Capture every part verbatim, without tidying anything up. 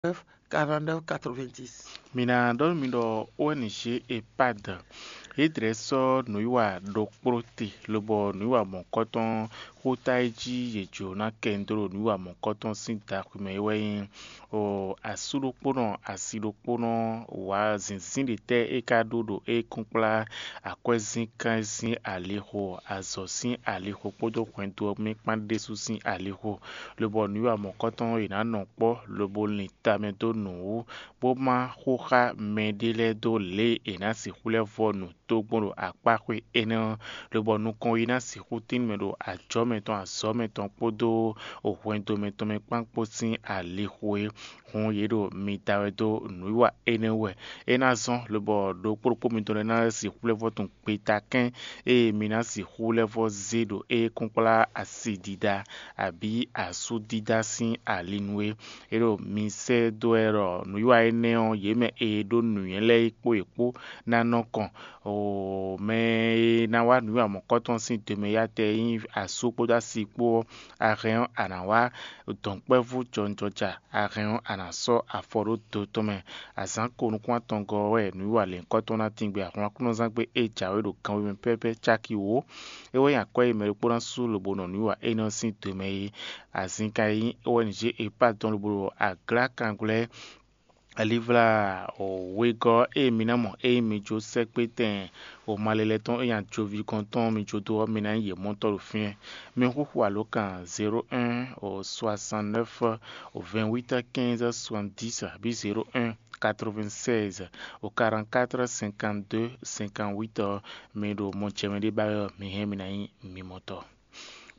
Quarante-neuf quatre-vingt-dix. Mi ná ɖɔ nú mi ɖɔ O N G EHPAD yě dlɛ́ sɔ́ nǔwiwa ɖokpló te, lobɔ nǔwiwa mɔ̌kɔtɔn xóta e jí yě jló ná kɛ nyi dó ɖo nǔwiwa mɔ̌kɔtɔn sín daxwi mɛ é wɛ nyí o asú ɖokpónɔ, asi ɖokpónɔ, wǎ zǐnzín ɖě tɛ́ é ka ɖó ɖo é kúnkplá akwɛ́zínkán sín alixo, azɔ̌ sín alixo kpódó hwɛndo ɔ́ mɛ kpán ɖésú sín alixo, lobɔ nǔwiwa mɔ̌kɔtɔn yě ná nɔ kpɔ́, lobo lin tamɛ dó nǔ wú, bó má xó xá mɛɖé lɛ́ɛ dó lě e è nǎ sixú lɛ́ vɔ nǔ tó gbɔn ɖo akpáxwé énɛ́ ɔ́, lobɔ nukɔn yi ná sixú tín mɛ ɖo ajɔ̌ mɛtɔn, azɔ̌ mɛtɔn kpódó hwɛndo mɛtɔn mɛ kpán kpó sín alixo é. Hǔn yě ɖo mi da wɛ dó nǔwiwa énɛ́ wú wɛ. É ná zɔ́n lobɔ ɖokpó ɖokpó mitɔn lɛ́ɛ ná sixú lɛ́ vɔ tunwun gbeta kɛ́n ée mi ná sixú lɛ́ vɔ zé ɖo é kúnkplá asi ɖiɖa abǐ asú dídá sín ali nu é. É ɖo mi sɛ́ dó wɛ ɖɔ nǔwiwa énɛ́ ɔ́, yě mɛ e ɖó nǔnywɛ́ lɛ́ɛ é kpó yě kpó ná nɔ kɔn. O mɛ e ná wá nǔwiwa mɔ̌kɔtɔn sín dome yá tɛ nyí asú kpódó asi kpó ɔ́, a hɛn ɔ́, a nǎ wá dɔ̌nkpɛvú jɔnjɔja, a hɛn ɔ́, a nǎ sɔ́ afɔ ɖó do tɔn mɛ. Azǎn ko nukún atɔngɔ́ ɔ́ wɛ nǔwiwa lěhunkɔtɔn ná tíngbé ahlɔ́nklúnɔzángbe e jǎwe ɖo ganwé mɛ pɛ́pɛ́ cáki wǒ. É wɛ nyí akwɛ́ e mɛ ɖokpó ná sú lobo nɔ nǔwiwa énɛ́ ɔ́ sín do mɛ é. Azinkan e nyí O N G EHPAD tɔn lobo ɖo aglǎkangblɛ́ alivlá wegɔ́ e mi ná mɔ ényí mi jó sɛ́kpétɛn o malelɛ tɔn e nyi ajoví gɔ́n tɔn mi jó dó ɔ́, mi ná nyí yě mɔtɔ́ ɖo fínɛ́. Mi xúxú alǒkan zéro un soixante-neuf vingt-huit quinze soixante-dix abǐ zéro un quatre-vingt-seize quarante-quatre cinquante-deux cinquante-huit ɔ́, mi ɖo mɔ jɛ mɛ ɖé ba wɛ ɔ́, mi hɛn mi ná nyí mi mɔtɔ́.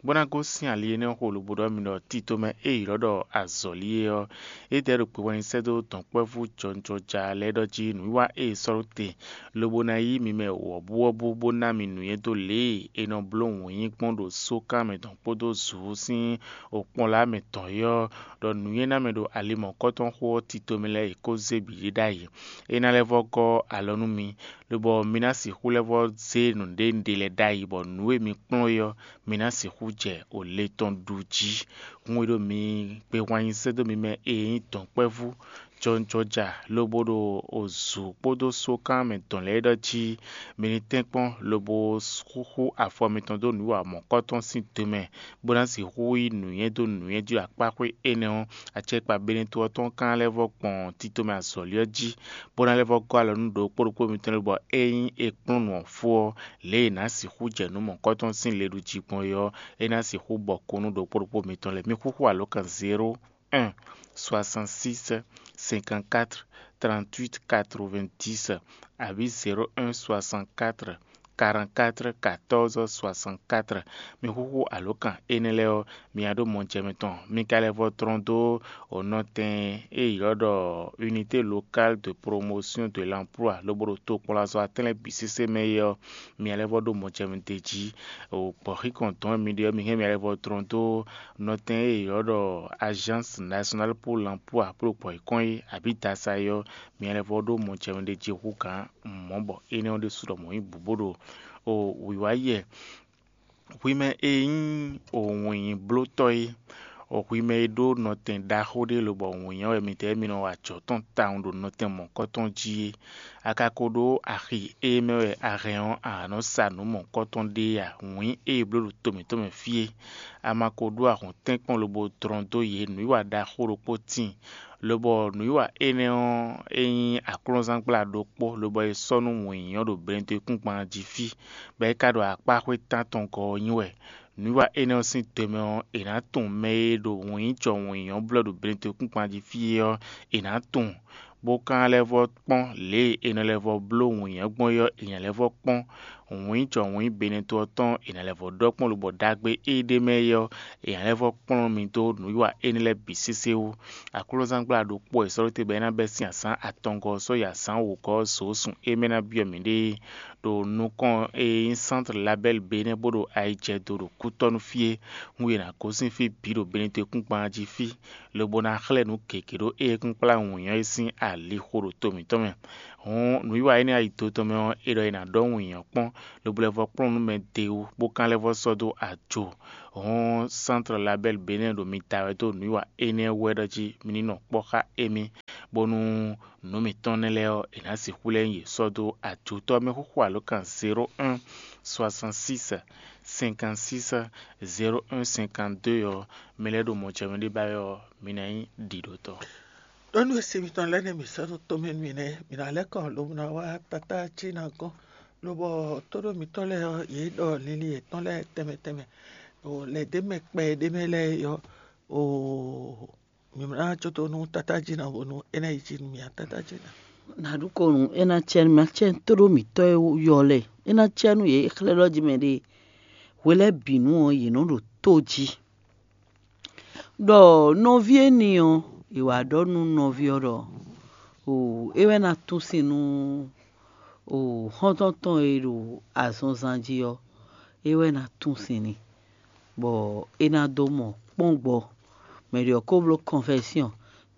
Bó ná gosín ali énɛ́ xo lobo ɖɔ mi ɖɔ tito mɛ e ylɔ́ ɖɔ azɔ̌li é ɔ́, é dɛ́ ɖo kpewɛnyi sɛ́ dó dɔ̌nkpɛvú jɔjɔja lɛ́ɛ ɖɔ jí nǔwiwa e è sɔ́ ɖó te, lobo ná yí mi mɛ wɔ̌buwɔ́bú bó ná mi nǔnywɛ́ dó lě e è nɔ bló wǔnyí gbɔn ɖo sókan mɛ tɔn kpódó zǔ sín okpɔ́nla mɛ tɔn é ɔ́, ɖɔ nǔnywɛ́ ná mɛ ɖo ali mɔ̌kɔtɔn xó ɔ́ tito mɛ lɛ́ɛ è kó zé bǐ ɖe ɖ'ayǐ. É ná lɛ́ vɔ́ gɔ́ alɔ nú mi, lobɔ mi ná sixú lɛ́ vɔ́ zé nǔɖénúɖé lɛ́ɛ ɖ'ayǐ, bɔ nǔ e mi kplɔ́n é ɔ́, mi ná sixú jɛ o le tɔn ɖu jí. Hun e ɖo mi gbehwan nyi sɛ́ dó mi mɛ e nyí dɔ̌nkpɛvú jɔjɔja lobo ɖo ozǔ kpódó sókan mɛ dɔn lɛ́ɛ ɖɔ jí mi ní tɛ́nkpɔ́n lobo xúxú afɔ mitɔn dó nǔ wa mɔ̌kɔtɔn sín do mɛ, bó ná sixú yí nǔnywɛ́ dó nǔnywɛ́ jí ɖo akpáxwé énɛ́ ɔ́, acɛkpa Benɛto ɔ́ tɔn ka ná lɛ́ vɔ́ gbɔn tito mɛ azɔ̌li ɔ́ jí, bó ná lɛ́ vɔ́ gɔ́ alɔ nú ɖokpó ɖokpó mitɔn lɛ́ɛ bɔ ényí è kplɔ́n nǔ ɔ́ fó ɔ́, lě e è nǎ sixú jɛ nǔ mɔ̌kɔtɔn sín le ɖu jí gbɔn é ɔ́, é ná sixú bɔ kún nú ɖokpó ɖokpó mitɔn lɛ́ɛ. Mi xúxú alǒkan zéro un soixante-six cinquante-quatre trente-huit quatre-vingt-dix abǐ zéro un soixante-quatre quarante-quatre quatorze soixante-quatre. Mi xúxú alǒkan énɛ́ lɛ́ɛ ɔ́, mi ná ɖó mɔjɛmɛ tɔn. Mi ka lɛ́ vɔ tlɔ́n dó nɔtɛn e ylɔ́ ɖɔ Unité locale de promotion de l'emploi lobo ɖo tokpɔnlazɔ atɛ́n lɛ́ɛ bǐ sésé mɛ é ɔ́, mi ná lɛ́ vɔ ɖó mɔjɛmɛ d'é jí. Gbɔ̌xíkɔn dɔn e mi ɖe ɔ́, mi hɛn mi ná lɛ́ vɔ tlɔ́n dó nɔtɛn e ylɔ́ ɖɔ Agence nationale pour l'emploi bó ɖo gbɔ̌xíkɔn é abǐ dasa é ɔ́, mi ná lɛ́ vɔ ɖó mɔjɛmɛ d'é jí hú gǎn mɔ̌ bɔ énɛ́ ɔ́ ɖésú ɖɔ mɔ̌ nyí bǔ bó ɖo o wǐwá yɛ. Hwi mɛ e nyí wǐnnyíblótɔ́ é, hwi mɛ e ɖó nɔtɛn ɖaxó ɖé lobɔ wǐnnya wɛ midɛɛ mi nɔ wa ajɔ̌ tɔn tawun ɖo nɔtɛn mɔ̌kɔtɔn jí é, a ka ko ɖó axi e mɛ wɛ a hɛn ɔ́, a nǎ nɔ sa nǔ mɔ̌kɔtɔn ɖé a? Wǐn e è bló ɖo to mǐtɔn mɛ fí é, a ma ko ɖó ahɔ̌ntɛ́nkpɔ́n lobo dlɔ́n dó yě nǔwiwa ɖaxó ɖokpó tíin, lobɔ nǔwiwa énɛ́ ɔ́, é nyí aklúnɔzángbla ɖokpó, lobɔ è sɔ́ nú wǐnnyɔ́ ɖo Benɛto-kúngban jí fí, bɔ é ka ɖo akpáxwé tántɔn gɔ́ ɔ́ nyi wɛ. Nǔwiwa énɛ́ ɔ́ sín te mɛ ɔ́, è nǎ tunwun mɛ e ɖo wǐnnyíjɔ wǐnnyɔ́ blɔ́ ɖo Benɛto-kúngban jí fí é ɔ́, è nǎ tunwun, bó ka lɛ́ vɔ́ kpɔ́n lě e è nɔ lɛ́ vɔ́ bló wǐnnyɔ́ gbɔn é ɔ́, è nǎ lɛ́ vɔ́ kpɔ́n wǐnnyíjɔ wǐnnyí Benɛto ɔ́ tɔn, è nǎ lɛ́ vɔ́ ɖɔ kpɔ́n lobɔ ɖagbe e ɖ'é mɛ é ɔ́, è nǎ lɛ́ vɔ́ kplɔ́n mi dó nǔwiwa énɛ́ lɛ́ɛ bǐ sésé wú. Aklúnɔzángbla ɖokpó wɛ è sɔ́ ɖó te bɔ é ná bɛ́ sín azǎn atɔngɔ́ ɔ́ sɔ́ yi azǎn wǒgɔ́ ɔ́ zǒ sun e mɛ ná byɔ́ mǐɖée. Ɖo nukɔn e nyí Centre Label Bénin bó ɖo ayijɛdo ɖo Kútɔ́nu fí é, hun e è nǎ gosín fí bǐ ɖo Benɛto-kúngban jí fí, lobo ná xlɛ́ nǔ gěgé ɖó éyɛ́kúnkplá wǐnnyɔ́ é sín alixo ɖo to mǐtɔn mɛ. Hɔn nǔwiwa énɛ́ ayi do tɔn mɛ ɔ́, é ɖɔ è nǎ ɖɔ wǐnyɔ́ kpɔ́n, lobo lɛ́ vɔ́ kplɔ́n nǔ mɛ d'é wú, bó ka lɛ́ vɔ́ sɔ́ dó ajo. Hɔn Centre Label Bénin ɖo mi da wɛ dó nǔwiwa énɛ́ wú wɛ ɖɔ jí mi ní nɔ kpɔ́ xá émí, bónú nǔ mǐtɔn nɛ́ lɛ́ɛ ɔ́, è nǎ sixú lɛ́ nyi yě sɔ́ dó ajotɔ́ mɛ xóxó alǒkan zéro un soixante six cinquante six zéro un cinquante deux ɔ́, mi lɛ́ ɖo mɔjɛmɛ ɖé ba wɛ ɔ́, mi ná nyí ɖiɖotɔ́. Ɖó nú e se mitɔn lɛ́ɛ nɛ́ mǐ sɔ́ ɖó tomɛ nú mì nɛ́, mǐ ná lɛ́ kɔ lobo ná wá tatá jí ná gɔ́n, lobɔ tóɖó mǐtɔn lɛ́ɛ ɔ́, yě ɖɔ linlin yětɔn lɛ́ɛ tɛnmɛ tɛnmɛ, ɖo lɛ̌ ɖé mɛ kpɛ ɖé mɛ lɛ́ɛ ɔ́, oo, mǐ ná jó dó nú tatá jí ná bónú é ná yi jí nú mì ǎ, tatá jí ná. Nǎ ɖu ko nǔ, é ná cɛ nú mì, acɛ tóɖó mǐtɔn e yɔ lɛ́ɛ, é ná cɛ nú yě xlɛ́ ɖɔ jí mɛ ɖé. Hwe lɛ́ɛ bǐ nu ɔ́, yě nɔ ɖo tó jí. Ɖɔ nɔví éní ɔ́, è wǎ ɖɔ nú nɔví ɔ́ ɖɔ: "O, é wɛ ná tún sin nú o xɔ́ntɔn tɔn e ɖo azɔnzan jí ɔ́, é wɛ ná tún sin n'i, bɔ é ná dó mɔ kpɔ́n gbɔ." Mɛ ɖě ɔ́ ko bló kɔnfɛsyɔn,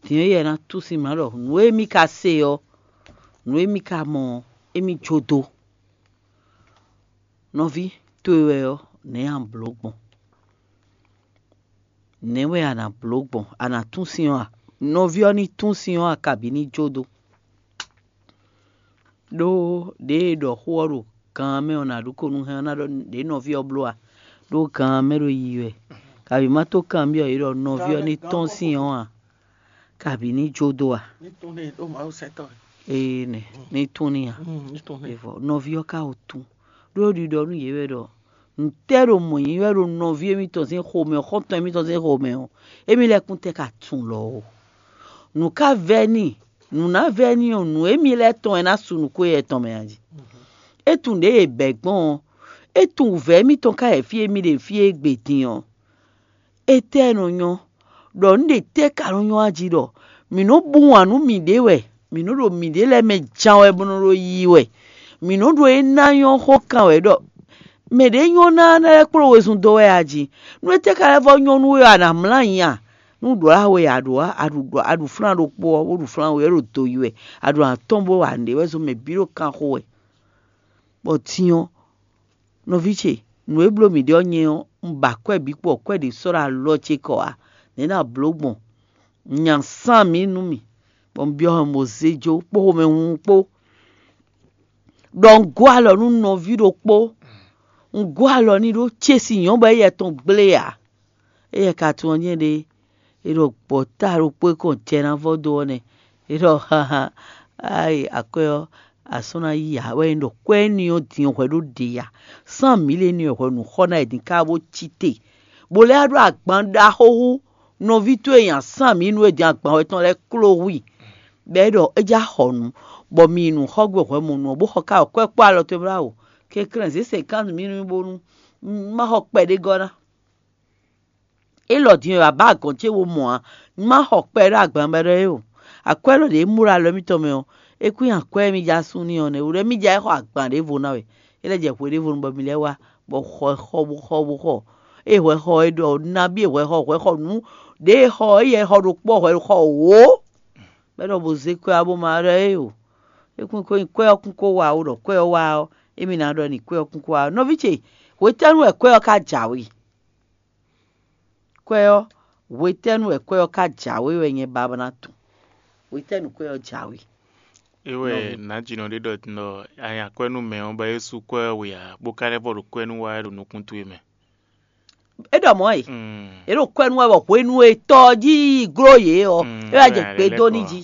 din ɔ́, éyɛ́ ná tún sin mlǎ ɖɔ nǔ e mì ka se ɔ́, nǔ e mì ka mɔ ɔ́, émí jó dó. Nɔví towe wɛ ɔ́, nɛ̌ a nǎ bló gbɔn? Nɛ̌ wɛ a nǎ bló gbɔn? A nǎ tún sin ɔ́ a? Nɔví ɔ́ ní tún sin ɔ́ a, kabǐ ní jó dó? Ɖó ɖěe è ɖɔ xó ɔ́ ɖo gan ɔ́ mɛ ɔ́, nǎ ɖu ko nú hɛn ɔ́ ná ɖɔ ɖě nɔví ɔ́ bló a? Ɖó gan ɔ́ mɛ ɖo yiyi wɛ, kabǐ má tó kanbyɔ́ yě ɖɔ nɔví ɔ́ ní tɔ́n sin ɔ́ a, kabǐ ní jó dó a? Ní tún n'i ɖó Mawu sɛntɔ́ wɛ. Ee nɛ, ní tún n'i a? Mm, ní tún n'i. Evɔ nɔví ɔ́ ka o tún, ɖó ɖiɖɔ nú yě wɛ ɖɔ: "Ntɛ́ ɖo mɔ̌ nyí wɛ ɖo nɔví émítɔn sín xomɛ ɔ́, xɔ́ntɔn émítɔn sín xomɛ ɔ́, émí lɛ́ kún tɛ́ ka tunwun lɔ ó? Nǔ ka vɛ́ n'i, nǔ ná vɛ́ n'i ɔ́, nǔ émí lɛ́ɛ tɔn wɛ ná su nǔ ko éyɛ́ tɔn mɛ a jí? É tunwun ɖěe è bɛ̌ gbɔn ɔ́, é tunwun wǔvɛ́ émítɔn ka wɛ fí e mì ɖe fí e gbe din ɔ́. Étɛ́ nɔ nyɔ́, ɖɔ nǔ ɖě tɛ́ ka nɔ nyɔ́ a jí ɖɔ mǐ nɔ́ bú wǎn nú mǐɖée wɛ, mǐ nɔ́ ɖo mǐɖée lɛ́ɛ mɛ jan wɛ bó nɔ́ ɖo yiyi wɛ, mǐ nɔ́ ɖo é ná nyɔ́ xó kan wɛ ɖɔ mɛ ɖě nyɔ́ ná ná lɛ́ kplɔ́n wezun dó wɛ a jí? Nú étɛ́ ka lɛ́ vɔ́ nyɔ́ nú we ɔ́, a nǎ mlá nyi a? Nú ɖǒ a we a ɖǒ a, a ɖu ɖɔ a ɖu flán ɖokpó ɔ́, bó ɖu flán we wɛ, é ɖo do yi wɛ, a ɖu atɔ́n bó wa nǔɖé wɛ zɔn mɛ bǐ ɖo kan xo wɛ. Bɔ din ɔ́, nɔví ce, nǔ e bló mǐ ɖe ɔ́ nyɛ ɔ́, un ba akwɛ́ bǐ kpo, akwɛ́ ɖě sɔ́ ɖo alɔ ce kɔ ǎ. Nɛ̌ ná blǒ gbɔn? Nya sán mǐ nú mì, bɔ un byɔ́ hɔn bó zé jó kpó xomɛhunhun kpó. Ɖɔ un gɔ́ alɔ nú nɔví ɖokpó, un gɔ́ alɔ n'i ɖó cési nyɔ̌ bɔ éyɛ́ tɔn gblé ǎ. Éyɛ́ ka tunwun ɔ́ nyɛ ɖe, é ɖɔ gbɔ̌ ta ɖokpó e kɔn jɛ ná vɔ́ dó ɔ́ nɛ́. É ɖɔ: "Haha, ayi akwɛ́ ɔ́, a sɔ́ ná yí ǎ, wɛ nyí ɖɔ kwɛ́ énɛ́ ɔ́ din ɔ́ hwɛ ɖó ɖě ǎ. Sán mǐ lě énɛ́ ɔ́ hwɛ nǔ xɔ ná è din ká bó cí te, bó lɛ́ ɖó agban ɖaxó hú nɔví towe nyi asán mǐ nú e din agban wɛ tɔn lɛ́ɛ kló hu i, bɔ é ɖɔ é já xɔ nǔ, bɔ mi yi nǔ xɔ gbe hwɛ mo nu ɔ́, bó xɔ ká kwɛ́ kpó alɔ towe bláwǔ. Kɛnklɛ́n zě sɛnkánt mǐ nú mì bónú má xɔ kpɛɖé gɔ́ ná." Élɔ́ din wɛ a bǎ agɔ̌n ce wo mɔ̌ ǎ, má xɔ kpɛ ɖó agban bɔ ɖɔ é o. Akwɛ́ élɔ́ ɖě mú ɖo alɔ émítɔn mɛ ɔ́, é kún nyi akwɛ́ e mì ja sú n'i ɔ́ nɛ́. Wǔ ɖɔ émí ja é xɔ agban ɖěvo ná wɛ, é lɛ́ jɛ hwe ɖěvo nu bɔ mi lɛ́ wá, bɔ xɔ xɔ bó xɔ bó xɔ. Ée hwɛ xɔ é ɖɔ nabí e hwɛ xɔ hwɛ xɔ nǔ ɖě e xɔ éyɛ́ xɔ ɖokpó ɔ́ hwɛ xɔ wǒ, bɔ é ɖɔ bó zé kwɛ́ ɔ́ bó ma ɖɔ é o. É kún ko nyi kwɛ́ ɔ́ kún ko wa ó, ɖɔ kwɛ́ ɔ́ wá ɔ́, émí ná ɖɔ n'i kwɛ́ ɔ́ kún ko wá ɔ́. Nɔví ce, hwetɛ́nu wɛ kwɛ́ ɔ́ ka jǎwe? Kwɛ́ ɔ́, hwetɛ́nu wɛ kwɛ́ ɔ́ ka jǎwe wɛ nyɛ ba ná tunwun? Hwetɛ́nu kwɛ́ ɔ́ jǎwe? É wɛ nǎjínɔ ɖé ɖɔ din ɖɔ a nya kwɛ́ nú mɛ ɔ́, bɔ é sú kwɛ́ ɔ́ we ǎ, bó ka lɛ́ vɔ ɖo kwɛ́ nú wa wɛ ɖo nukún towe mɛ. É ɖɔ mɔ̌ e, é ɖo kwɛ́ nú wɛ bɔ hwenu e tɔ ɔ́ jí yi gló yě ɔ́, é wá jɛ gbe dó n'i jí.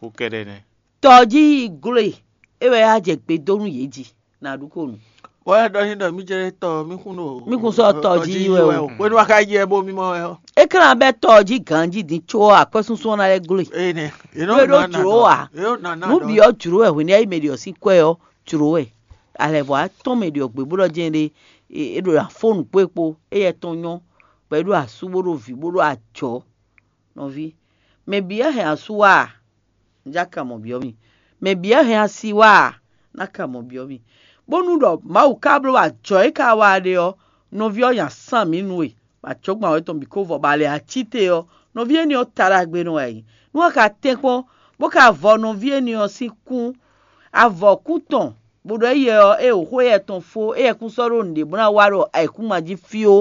Xó kɛ́ɖɛ́ nɛ́. Tɔ ɔ́ jí yi gló e, é wɛ wá jɛ gbe dó nú yě jí. Nǎ ɖu ko nu. Wɔ wɛ ɖɔ n'i ɖɔ mí jɛ tɔ mí kún ɖo Mí kún sɔ́ tɔ jí yi wɛ o. Hwenu wa ka yi ɛ bó mí mɔ wɛ ɔ́. É ka ná bɛ́ tɔ ɔ́ jí ganjí din có akwɛ́súnsún ɔ́ ná lɛ́ gló e. Eye nɛ. Nú é ɖó jlǒ ǎ, nú bǐ ɔ́ jlǒ wɛ hwenu e é yi mɛ ɖě ɔ́ sín kwɛ́ ɔ́, jlǒ wɛ. Alɛ̌vɔ́ atɔ́n mɛ ɖě ɔ́ gbe bó ɖɔ jɛ́n ɖé, é ɖo afó nǔkpó e kpó, éyɛ́ tɔn nyɔ́, bɔ é ɖo asú bó ɖo vǐ bó ɖo ajɔ̌. Nɔví, mɛ bǐ wɛ hɛn asú wá a? Un já ka mɔ byɔ́ mì. Mɛ bǐ wɛ hɛn asi wá a? Ná ka mɔ byɔ́ mì. Bónú ɖɔ Mawu ka bló ajɔ̌ e ka wa ɖe ɔ́, nɔví ɔ́ nya sán mǐ nú we, bɔ ajɔ̌gbɛ́n wɛ tɔn bǐ ko vɔ, bɔ alɛ acíte ɔ́, Nɔví énɛ́ ɔ́ ta ɖagbe nɔ wɛ é nyí. Nú a ka tɛ́nkpɔ́n bó ka vɔ nɔví énɛ́ ɔ́ sín kún, avɔkún tɔn, bó ɖɔ éyɛ ɔ́, é wǒ xó éyɛ tɔn fó, éyɛ kún sɔ́ ɖó nǔɖé bó ná wá ɖo ayǐkúngban jí fíó.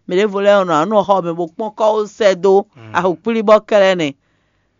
Mɛ ɖěvo lɛ́ɛ nɔ anú xɔ mɛ bó kpɔ́n kɔ́ ó sɛ́ dó ahokplíbɔ́ kɛ́lɛ́ nɛ́.